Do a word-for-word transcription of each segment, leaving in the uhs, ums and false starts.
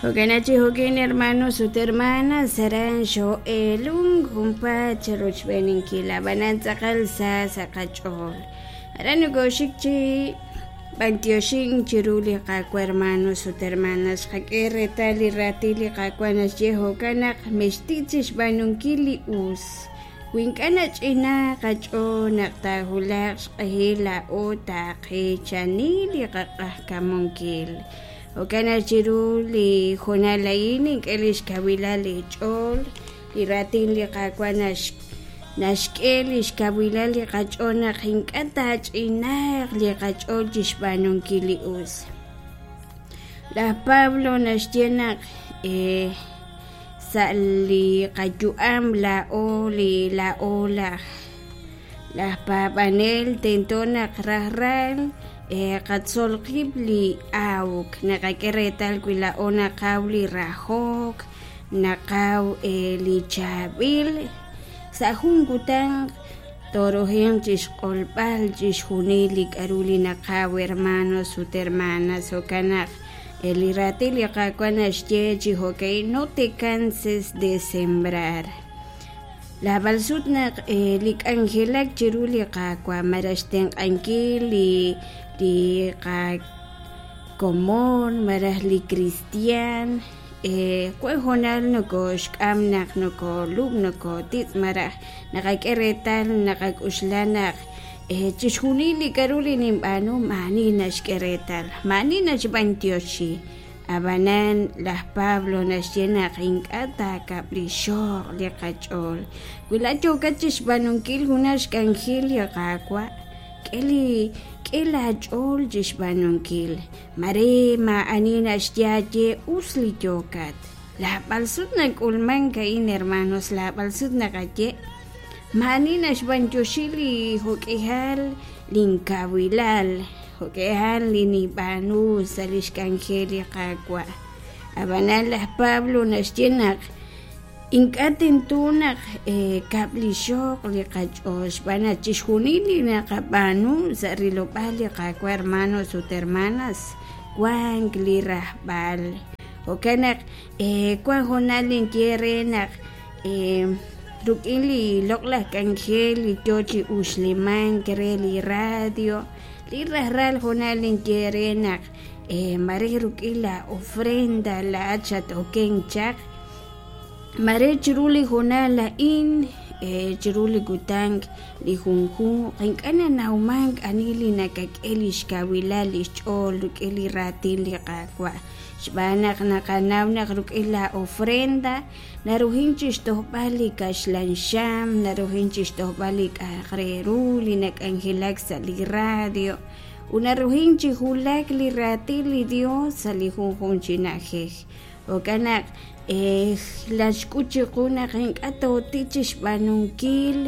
Jo'kan chi jo'kin hermanos ut hermanas aran xoo'eelunk junpaat charochb'eeninkil ab'anan tz'aqal sa sa' qach'ool aran nokooxik chi b'antioxink chiru li Qaawa' hermanos ut hermanas xqak'e reetal li raatin li Qaawa' naxye jo'kan naq mextik chixb'aanunkil li us wi ink'a' nach'inaaq qach'ool naq taawulaq xq'ehil laa'o taaqeechani li qaq'ajkamunkil. Jo'kan naq chiru li hoonal a'in ink'e li xkawilal li ch'ool li raatin li Qaawa' nax naxk'e li xkawilal li qach'ool naq ink'a' taach'inaaq li qach'ool chixb'aanunkil li us. Laj Pablo naxye naq eh, sa' li qayu'am laa'o li laa'o laj laj paab'anel tento naq rajlal eh, qatzol qib' li awk naqak'e reetal wi laa'o naqaw li rajok naqaw eh, li chaab'il sa' jun kutan torojenq chixq'olb'al chixjunil li k'a'ru li naqaw hermanos ut hermanas jo'kan naq eh, li raatin li Qaawa' naxye chi jo'ka'in no te canses de sembrar. Laab'al sut naq eh, li k'anjelak chiru li Qaawa' malaj xtenq'ankil li li qakomon malaj li cristian eh, wan hoonal nokooxk'am naq nokoolub' nokootitz' malaj naqak'e reetal naqak'uxla naq eh, chixjunil li k'a'ru li ninb'aanu maani naxk'e reetal maani naxb'antioxi ab'anan laj Pablo naxye naq ink'a' taakab'lixoq li qach'ool wi laat yookat chixb'aanunkil junaq xk'anjel li Qaawa' k'e li k'e laach'ool chixb'aanunkil mare maa'ani naxye aaye us li yookat laab'al sut nak'ulmank a'in hermanos laab'al sut naqaye maa'ani naxb'antioxi li jo'k'ihal linkawilal jo'k'ihal li ninb'aanu sa' li xk'anjel li Qaawa' ab'anan laj Pablo naxye naq ink'a' tento naq eh, kab'lixoq li qach'ool xb'aan naq chixjunil li naqab'aanu sa' rilob'aal li Qaawa' hermanos ut hermanas wank li rajb'al jo'kan naq eh, wan hoonal ninye re naq eh, ruk'in li loq'laj k'anjel li yoo chi uxlimank re li radio li rajlal hoonal ninye re naq eh, mare ruk'in la ofrenda laat xat-okenk chaq mare chiru li hoonal a'in eh, chiru li kutan li junjunq ink'a' nanawmank ani li nakak'e li xkawilal li xch'ool ruk'in li raatin li Qaawa' xb'aan naq naqanaw naq ruk'in la ofrenda narujin chixtojb'al li kaxlan xam narujin chixtojb'al li k'a'aq re ru li nak'anjelak sa' li radio ut narujin chi wulak li raatin li Dios sa' li junjunq chi na'ajej jo'kan naq eh, laxk'ut chiqu naq ink'a' tootik chixb'aanunkil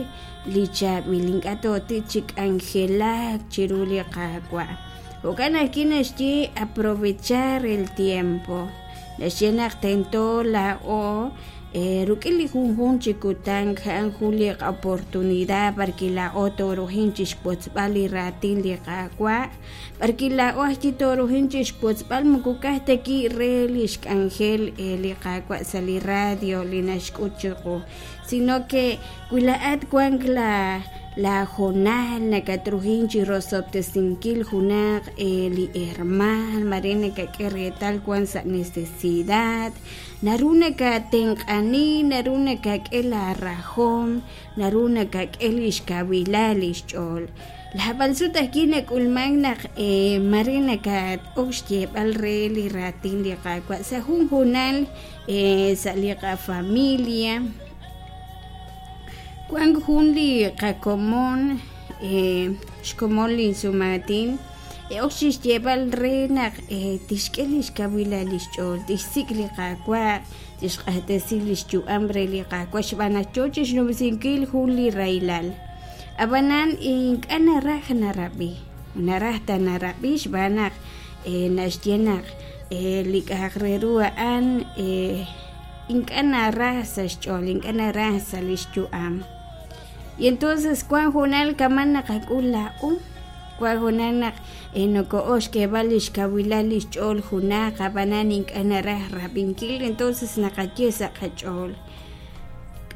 li chaab'il ink'a' tootik chi k'anjelak chiru li Qaawa' jo'kan ajwi' naxye aprovechar el tiempo naxye naq tento laa'o eh, ruk'in li junjunq chi kutan a'an jun li oportunidad parque laa'o toorujin chixwotzb'al li raatin li Qaawa' parque laa'o ajwi' toorujin chixwotzb'al moko ka'aj ta ki' re li xk'anjel eh, li Qaawa' sa' li radio li naxk'ut chiqu sino que wi laat wank la la hoonal nakatrujin chi rosob'tesinkil junaq eh, li herman mare nakak'e reetal wan sa' necesidad naru nakatenq'ani naru nakak'e la rajom naru nakak'e li xkawilal li xch'ool laab'al sut ajwi' nak'ulmank naq eh, mare nakat'ok xyeeb'al re li raatin li Qaawa' sa' jun hoonal eh, sa' li qafamilia wank jun li qakomon eh, xkomon linsumaatin e ok chixyeeb'al re naq eh, tixk'e li xkawilal li xch'ool tixsik' li Qaawa' tixq'axtesi li xyu'am re li Qaawa' xb'aan naq yoo chixnumsinkil jun li rahilal ab'anan ink'a' naraj narab'i naraj ta narab'i xb'aan naq eh, naxye naq eh, li k'a'aq re ru a'an eh, ink'a' naraj sa' xch'ool ink'a' naraj sa' li xyu'am y entonces wan hoonal kaman naqak'ul laa'o Wan hoonal naq noko'ok xk'eeb'al li xkawilal li xch'ool junaq ab'anan ink'a' naraj rab'inkil entonces naqaye sa' qach'ool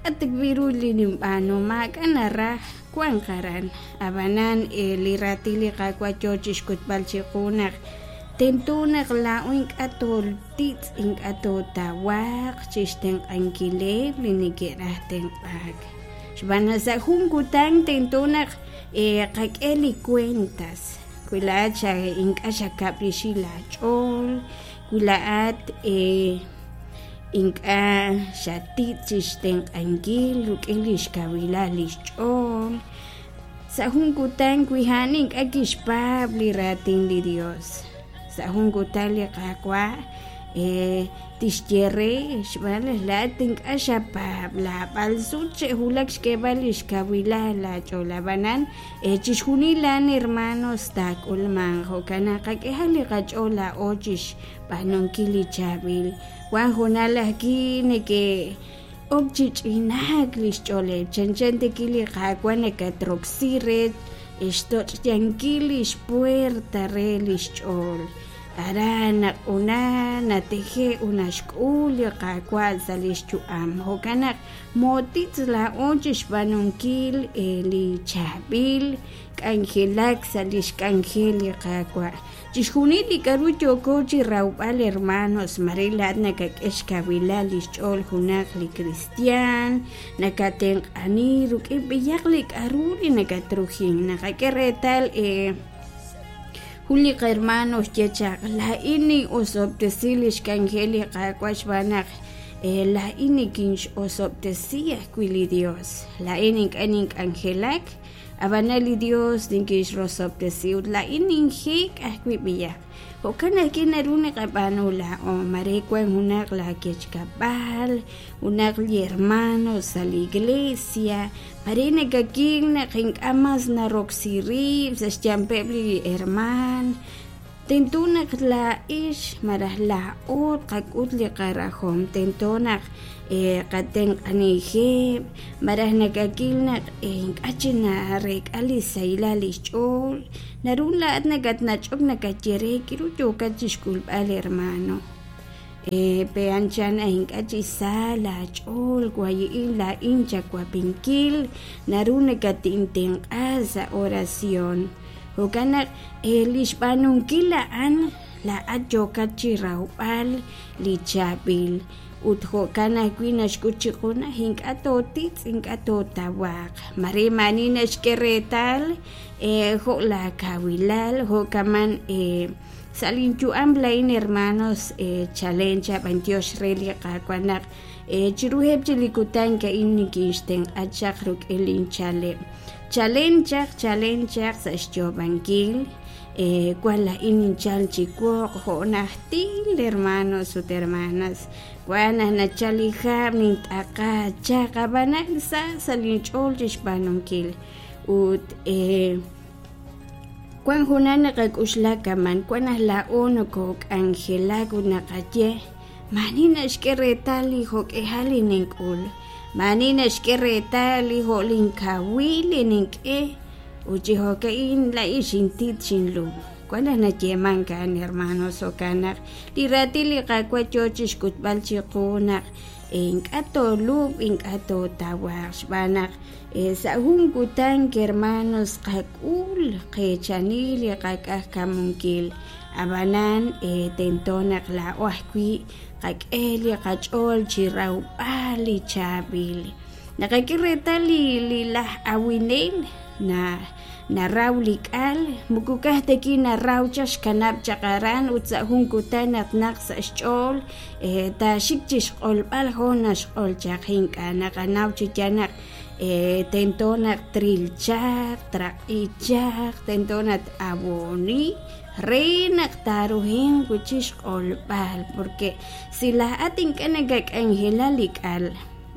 k'a' ta wi' ru li ninb'aanu maak'a' naraj wanq aran ab'anan li raatin li Qaawa' yoo chixk'utb'al chiqu naq tento naq laa'o ink'a' tootitz' ink'a' tootawaq chixtenq'ankileb' li neke'raj tenq'aak xb'aan naq sa' jun kutan tento naq qak'e li cuentas wi laa'at xa ink'a' xakab'rixi laach'ool wi laa'at ink'a' xatitz' chixtenq'ankil rik'in li xkawilal li xch'ool sa' jun kutan wi a'an ink'a' kixpaab' li raatin li Dios sa' jun kutan li Qaawa' tixye re xb'aan naq laa'at ink'a' xapaab' laab'al sut xe'wulak xk'eeb'al li xkawilal laach'ool ab'anan chixjunil a'an hermanos taak'ulmanq jo'kan naq qak'ehaq li qach'ool laa'o chixb'aanunkil li chaab'il wan hoonal ajwi' neke'ok chi ch'inaak li xch'ooleb' chanchan ta li Qaawa' nakatroksi re xtoch'yankil li xpuerta re li xch'ool aran naq una nateje' naxk'ul li Qaawa' sa' li xyu'am jo'kan naq mootitz' laa'o chixb'aanunkil li chaab'il k'anjelak sa' li xk'anjel li Qaawa' chixjunil li k'a'ru yooko chi rawb'al hermanos mare laa'at nakak'e xkawilal li xch'ool junaq li cristian nakatenq'ani rik'in b'iyaq li k'a'ru li nakatrujin naqak'e reetal jun li hermano xye chaq laa'in nin'osob'tesi li xk'anjel li Qaawa' xb'aan naq laa'in nikinx'osob'tesi ajwi' li Dios laa'in ink'a' nink'anjelak ab'anan li Dios nikinxrosob'tesi ut laa'in ninjek' ajwi' b'iyaq jo'kan ajwi' naru naqab'aanu laa'o mare wan junaq laakechkab'al junaq li hermano sa' li iglesia mare nakakil naq ink'a' mas naroksi rib' sa' xyanpeb' li herman tento naq laa'ix malaj laa'o tqak'ut li qarajom tento naq qatenq'anijeb' malaj nakakil naq ink'a' chi narek'a li sahilal li xch'ool naru laa'at nakatnach'ok nakaye re k'aru yookat chixk'ulb'al hermano pe anchan ink'a' chi sa laach'ool wayi'in laa'in chawab'inkil naru nakatintenq'a sa' oración jo'kan naq li xb'aanunkil a'an laa'at yookat chi rawb'al li chaab'il ut jo'kan ajwi' naxk'ut chiqu naq ink'a' tootitz' ink'a' tootawaq mare maani naxk'e reetal jo' laakawilal jo'kaman sa' linyu'am laa'in hermanos chalen chaq b'antiox re li Qaawa' naq chiruheb' chi li kutan a'in nikinxtenq'a chaq rik'in linchaleb' chalen chaq chalen chaq sa' xyoob'ankil wan laa'in ninchal chi woq jo' najtil hermanos ut hermanas wan naq nachal li hab' nint'aqa chaq ab'anan sa sa' linch'ool chixb'aanunkil ut wan hoonal naqak'uxla kaman wan naq laa'o nokok'anjelak ut naqaye maani naxk'e reetal li jo'k'ejal li nink'ul maani naxk'e reetal li jo' linkawil li nink'e ut chi jo'ka'in laa'in xintit xinlub' wan naq nayeemank a'an hermanos jo'kan naq li raatin li Qaawa' yoo chixk'utb'al chiqu naq ink'a' toolub' ink'a' tootawaq xb'aan naq sa' jun kutan hermanos qak'ul qeechani li qak'ajkamunkil ab'anan tento naq laa'o ajwi' qak'e li qach'ool chi rawb'al li chaab'il naqak'e reetal li li laj awinel na naraw li k'al moko ka'aj ta ki naraw chaq xkanab' chaq aran ut sa' jun kutan naq naq sa' xch'ool taaxik chixq'olb'al jo' naxq'ol chaq ink'a' naqanaw chi yaal naq tento naq tril chaq traq'i chaq tento naq t-aboni re naq taaruhinq wi' chixq'olb'al porque si laa'at ink'a' nakak'anjela li k'al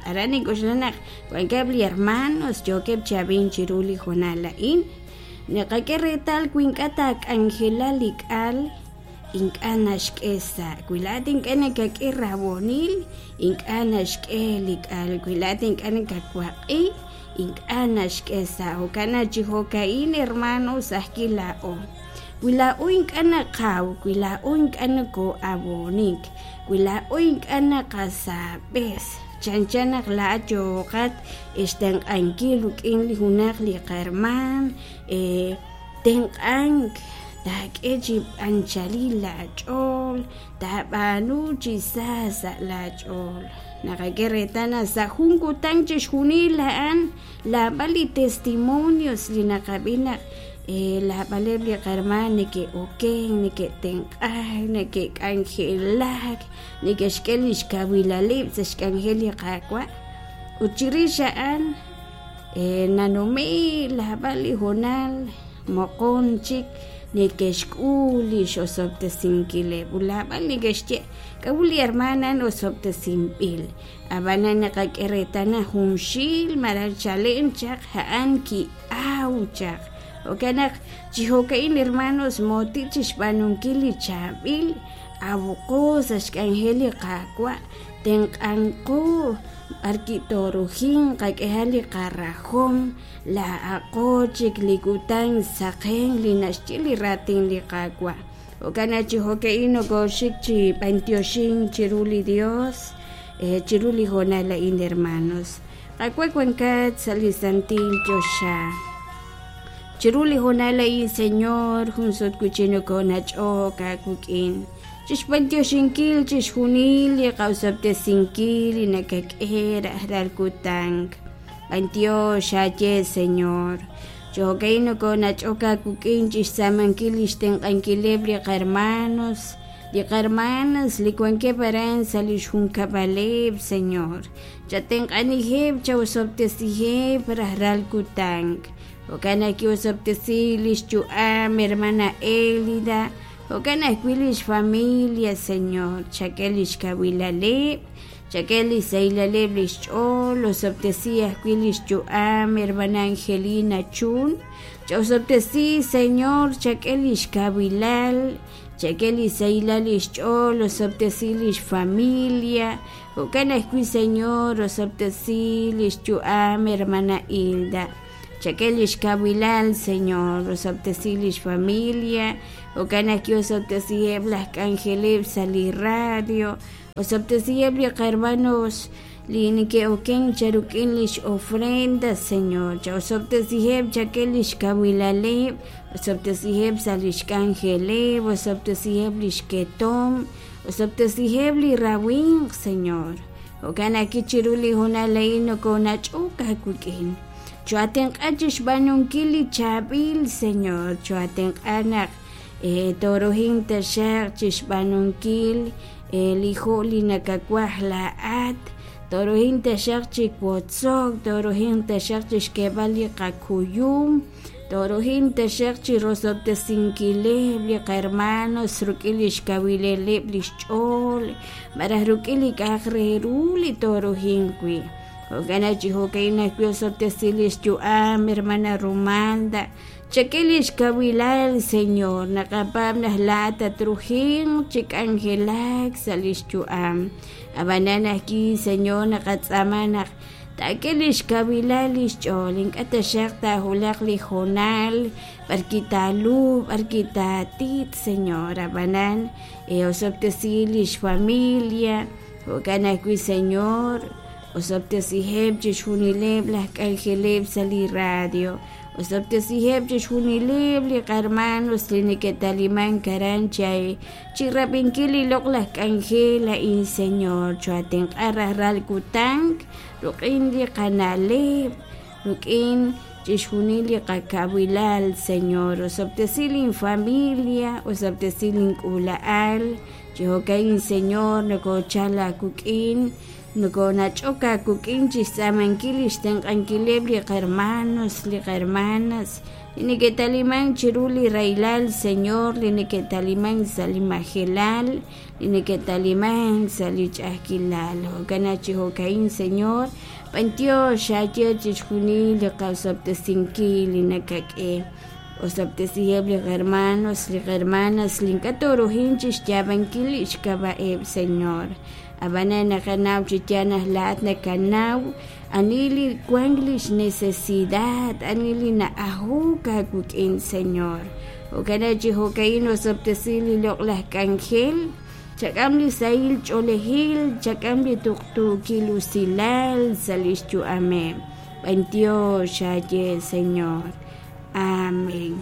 aran nink'oxla naq wankeb' li hermanos yookeb' chi ab'ink chiru li hoonal a'in naqak'e reetal wi ink'a' taak'anjela li k'al ink'a' naxk'e sa' wi laa'at ink'a' nakak'e rabonil ink'a' naxk'e li k'al wi laa'at ink'a' nakawaq'i Ink'a' naxk'e sa' jo'kan naq chi jo'ka'in hermanos ajwi' laa'o wi laa'o ink'a' naqaw wi laa'o ink'a' nokoo'ab'oonik wi laa'o ink'a' naqasaab'es chanchan naq laa'at yooqat xtenq'ankil rik'in li junaq li qahermaan tenq'ank taak'e chi anchalil laach'ool taab'aanu chi sa sa' laach'ool naqak'e reetal naq sa' jun kutan chixjunil a'an laab'al li testimonios li naqab'i naq laab'aleb' li qahermaan neke'oken neke'tenq'ak neke'k'anjelak neke'xk'e lix kawilaleb' sa' xk'anjel li Qaawa' ut chirix a'an nanume' laab'al li hoonal moqon chik neke'xk'ul li xosob'tesinkileb' ut laab'al neke'xye k'a'ut li hermana osob'tesinb'il ab'anan naqak'e reetal naq junxil malaj chalen chaq a'an ki'aw chaq jo'kan naq chi jo'ka'in hermanos mooti chixb'aanunkil li chaab'il awqo sa' xk'anjel li Qaawa' tenq'anqo b'arki toorujin qak'ehal li qarajom laa'aqo chik li kutan saqen li naxye li raatin li Qaawa' jo'kan naq chi jo'ka'in nokooxik chi b'antioxin chiru li Dios chiru li hoonal a'in hermanos Qaawa' wankat sa' li santil choxa chiru li hoonal a'in Señor jun sut wi'chik nokoonach'ok aawik'in chixb'antioxinkil chixjunil li qawsob'tesinkil li nakak'e rajlal kutan b'antiox aaye Señor chi jo'ka'in nokoonach'ok aawik'in chixtz'aamankil li xtenq'ankileb' li qahermanos li qahermanas li wankeb' aran sa' li xjunkab'aleb' Señor chatenq'anijeb' chawsob'tesijeb' rajlal kutan jo'kan naq kiwosob'tesi li xyu'am hermana Elida jo'kan ajwi' lix familia Señor chak'e lix kawilaleb' chak'e li saylaleb' lix ch'ool osob'tesi ajwi' lix yu'am hermana Angelina Chun ch'osob'tesi Señor chak'e lix kawilal chak'e li saylal lix ch'ool osob'tesi lix familia jo'kan ajwi' Señor osob'tesi lix yu'am hermana Hilda chak'e lix kawilal Señor osob'tesi lix familia jo'kan ajwi' osob'tesiheb' laj k'anjeleb' sa' li radio osob'tesiheb' li qahermanos li neke'oken charuk'in lix ofrenda Señor cha'osob'tesiheb' chak'e lix kawilaleb' osob'tesiheb' sa' lix k'anjeleb' osob'tesiheb' lix ketom osob'tesiheb' li rawinq Señor jo'kan ajwi' chiru li hoonal a'in nokoonach'ok aawik'in choatenq'a chixb'aanunkil li chaab'il Señor choatenq'a naq toorujin taxaq chixb'aanunkil li jo' li nakawaj laa'at toorujin taxaq chi wotzok toorujin taxaq chixk'eeb'al li qakuyum toorujin taxaq chi rosob'tesinkileb' li qahermanos rik'in lix kawilaleb' lix ch'ool malaj rik'in li k'a'aq re ru li toorujin wi' jo'kan naq chi jo'ka'in ajwi' osob'tesi lix yu'am hermana Romalda chak'e lix kawilal Señor naqapaab' naq laa'at tatrujin chi k'anjelak sa' lix yu'am ab'anan ajwi' Señor naqatz'aama naq taak'e lix kawilal lix ch'ool ink'a' taxaq taajulaq li hoonal b'arki taalub' b'arki taatit Señor ab'anan osob'tesi lix familia jo'kan ajwi' Señor osob'tesiheb' chixjunileb' laj k'anjeleb' sa' li radio osob'tesiheb' chixjunileb' li qahermanos li neke'talimank aran chay chi rab'inkil li loq'laj k'anjel a'in Señor choatenq'a rajlal kutan rik'in li qana'leb' rik'in chixjunil li qakawilal Señor osob'tesi linfamilia osob'tesi link'uula'al chi jo'ka'in Señor nokochal aawik'in nokoonach'ok aawik'in chixtz'aamankil li xtenq'ankileb' li qahermanos li qahermanas li neke'talimank chiru li rahilal Señor li neke'talimank sa' li majelal li neke'talimank sa' li ch'a'ajkilal jo'kan naq chi jo'ka'in Señor b'antiox aaye chixjunil li qasob'tesinkil li nakak'e Osob'tesiheb' li hermanos, li hermanas li ink'a' tooruhin chixyaab'ankil lix k'ab'a'eb', Señor. Ab'anan naqanaw chi yaal naq laa'at nakanaw ani li wank lix necesidad, ani li na'ajok aawik'in, Señor. Jo'kan chi jo'ka'in osob'tesi li loq'laj k'anjel, chak'am li sahil ch'oolejil, chak'am li tuqtuukil usilal sa' lix yu'ameb'. B'antiox aaye, Señor. Amén.